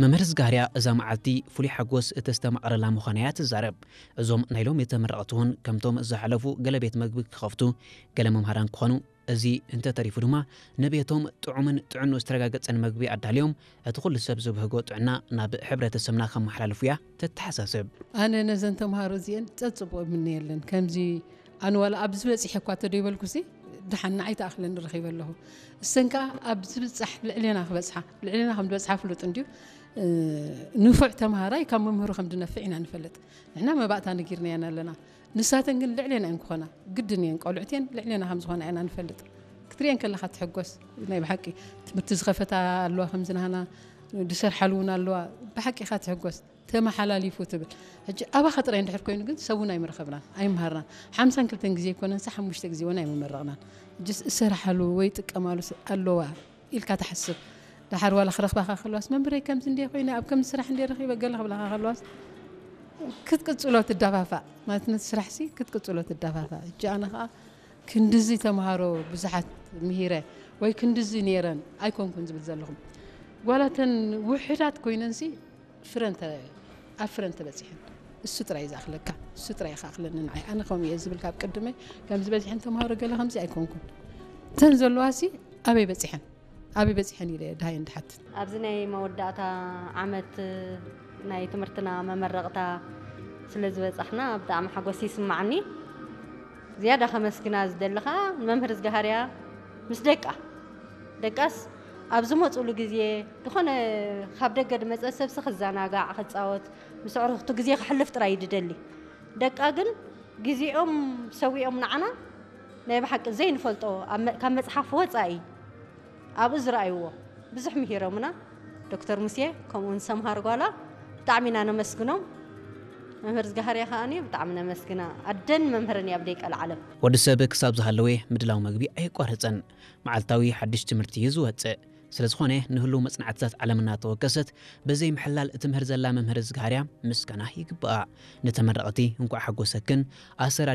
መምህር ዝጋርያ እዛ መዓልቲ ፍሉይ ሓጎስ እተስተማቐረላ ምዃና እያ ትዛረብ። እዞም ናይ ሎሚ ተመረቕቲ እውን ከምቶም ዝሓለፉ ገለ ቤት መግቢ ክኸፍቱ፣ ገለ መምሃራን ክኾኑ፣ እዚ እንተተሪፉ ድማ ንቤቶም ጥዑምን ጥዕንኡ ዝተረጋገጸን መግቢ ኣዳልዮም እቲ ኩሉ ሰብ ዝብህጎ ጥዕና ናብ ሕብረተሰብና ከመሓላልፉ እያ ተተሓሳስብ። ኣነ ነዘን ተምሃሮ እዚአን ጸጽቡቕ እምነየለን። ከምዚ ኣነ ዋላ ኣብዚ በጺሐ እኳ ተደይበልኩሲ ድሓን ንዓይ ተኣኽለኒ ረኺበ ኣለኹ። እሰን ከኣ ኣብ ዝብጻሕ ልዕሌና ክበጽሓ፣ ልዕሌና ከም ዝበጽሓ ፍሉጥ እንድዩ። ንፉዕ ተምሃራይ ካብ መምህሩ ከም ድነፍዕ ኢና ንፈልጥ። ንሕና መባእታ ነጊርናየን ኣለና። ንሳተን ግን ልዕሌና እየን ክኾና ግድን እየን። ቆልዑት እየን፣ ልዕሌና ከም ዝኾና ኢና ንፈልጥ። ክትሪኤን ከለኻ ትሕጎስ። ናይ ብሓቂ ትምህርቲ ዝኸፈታ ኣለዋ፣ ከምዚ ናህና ዝሰርሓሉ እውን ኣለዋ። ብሓቂ ኢኻ ትሕጎስ። ተመሓላሊፉ ትብል። ሕጂ ኣባኻ ጥራይ እንድሕር ኮይኑ ግን ሰብ እውን ኣይምረኸብናን ኣይምሃርናን። ሓምሳን ክልተን ግዜ ኣይኮነንሲ ሓሙሽተ ግዜ እውን ኣይምመረቕናን። ሕጂስ እሰርሓሉ ወይ ጥቀማሉ ስ- ኣለዋ ኢልካ ትሓስብ። ደሓር ዋላ ክረኽባኻ ከለዋስ መምህረይ ከምዚ እንደ ኮይነ ኣብ ከምዚ ስራሕ እንደ ረኺበ ገለ ክብላኻ ከለዋስ ክትቅጽሎ ትዳፋፋእ ማለት ነቲ ስራሕሲ ክትቅጽሎ ትዳፋፋእ። ሕጂ ኣነ ከዓ ክንድዚ ተምሃሮ ብዙሓት ምሂረ ወይ ክንድዚ ነይረን ኣይኮንኩን ዝብል ዘለኹም ጓላተን ውሕዳት ኮይነንሲ ፍረን ተ- ኣብ ፍረን ተበፂሐን እሱ ጥራይ ዝኣኽለካ እሱ ጥራይ ይኽኣኽለኒ ንዓይ ኣነ ከምኡ እየ ዝብል ካብ ቅድመይ ከም ዝበዝሐን ተምሃሮ ገለ ከምዚ ኣይኮንኩን እተን ዘለዋሲ ኣበይ በፂሐን ኣበይ በፂሐን ኢለ ድሃየን ድሓትት ኣብዚ ናይ መወዳእታ ዓመት ናይ ትምህርትና መመረቕታ ስለ ዝበጻሕና ብጣዕሚ ሓጎስ ይስማዓኒ ዝያዳ ከመስግና ዝደሊ ኸዓ ንመምህር ዝጋሃርያ ምስ ደቃ ደቃስ ኣብ ዝመፁሉ ግዜ ዝኾነ ካብ ደገ ድመፀ ሰብሲ ክዘናጋዕ ክፃወት ምስ ኣዕሩኽቱ ግዜ ክሕልፍ ጥራይ እዩ ድደሊ ደቃ ግን ግዜኦም ሰዊኦም ንዓና ናይ ብሓቂ ዘይንፈልጦ ካብ መፅሓፍ ወፃኢ ኣብኡ ዝረኣይዎ ብዙሕ ምሂሮምና ዶክተር ሙሴ ከምኡውን ሰምሃር ጓላ ብጣዕሚ ኢና ነመስግኖም መምህር ዝጋሃርያ ከዓኒ ብጣዕሚ ነመስግና ኣደን መምህርን እያ ብደይ ቀልዓለም ወዲ ሰብ ክሳብ ዝሃለወ ምድላው መግቢ ኣየቋርፅን። መዓልታዊ ሓድሽ ትምህርቲ እዩ ዝወፅእ። ስለዝኾነ ንህሉው መፅናዕትታት ዓለም እናተወከሰት ብዘይ ምሕላል እትምህር ዘላ መምህር ዝጋሃርያ ምስጋና ይግብኣ። ንተመረቕቲ እንኳዕ ሓጎሰክን ኣሰር